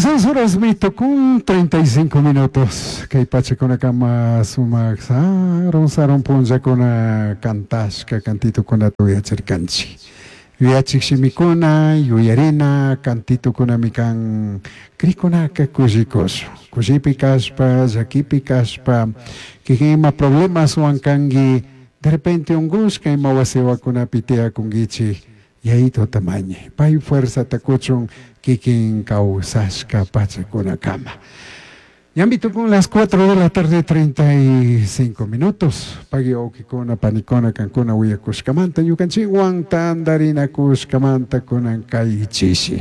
16 horas mitukun 35 minutos. Kay pachakunakama sumak sarun sarun punllakuna kantashka kantitukunata uyachirkanchik. Yuyachik shimikuna, yuyarina, kantitukunami kan krikunaka kushikushun. Kushipi kashpa, llakipi kashpa, kikin ima problemaswan kanki, de repente unkushka ima wasiwakunapi tiyakunkichik, Yayituta mañay, pay fuerzata kuchun kikin kawsashka pachakunakama. Ñambi tukun las 4 de la tarde 35 minutos. Pagui wawkikuna, panikuna, kankuna willakushkamanta, ñukanchikwan tantarinakushkamanta kunan kay chishi.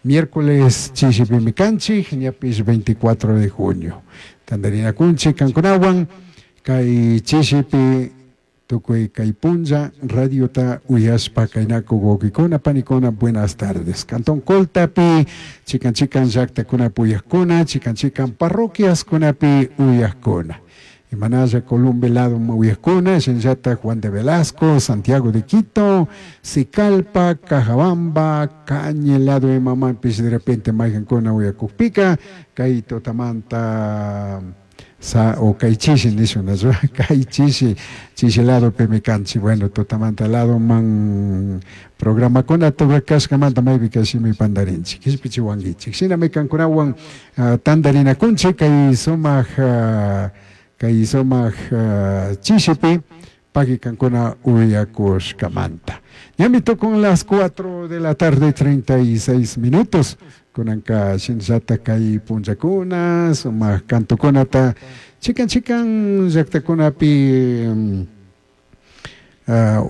Miércoles chishipimi kanchik, ñapish 24 de junio. Tantarinakunchik kankunawan kay chishipi tukuy kay punlla radiota uyashpa kaynakuk wawkikuna, panikuna, buenas tardes. Cantón Coltapi, chikan chikan llaktakunapi uyakkuna, chikan chikan parroquiaskunapi uyakkuna. Imanalla Columbe lado uyakkuna, shinallata Juan de Velasco, Santiago de Quito, Sicalpa, Cajabamba, Cañe lado imamanpish de repente maykankuna uyakukpika, kay tutamanta sa o kay chishi nishun, kay chishi, chishi ladopimi kanchik, bueno, tutamanta ladoman programakunata rurakashkamanta maypika shimi pantarinchik, kishpichiwankichik. Shinami kankunawan tantarinakunchik kay sumak kay sumak chishipi pagui kankuna uyakushkamanta. Ñami tukun las 4 de la tarde 36 minutos. Kunanka shinallata kay punllakuna, sumak kantukunata chikan chikan llaktakunapi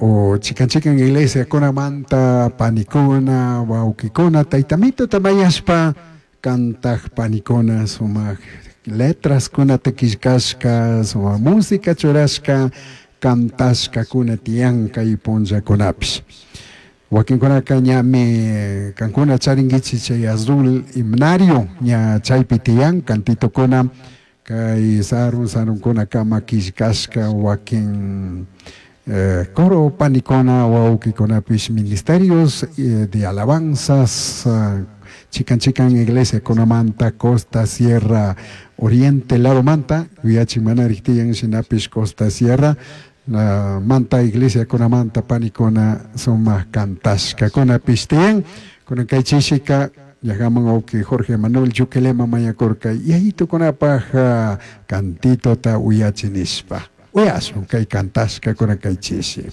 o chikan chikan iglesiakunamanta panikuna, wawkikuna, taytamituta mañashpa kantak panikuna sumak letraskunata killkashka, sumak música churashka, kantashkakuna tiyan kay punllakunapish. Wakinkunaka ñami kankuna charinkichik chay azul himnario ña chaypi tiyan kantitukuna kay sarun sarunkunakama killkashka wakin coro panikuna wawkikunapish ministerios de alabanzas chikan chikan iglesiakunamanta Costa Sierra Oriente ladomanta yuyachin manarik tiyan shinapish Costa Sierra manta iglesiakunamanta panikuna sumak kantashkakunapish tiyan. Kunan kay chishika llakaman wawki Jorge Manuel Yuquilema mañakurka yayitukunapaj kantitota uyachi nishpa. Uyashun kay kantashkakuna kay chishi.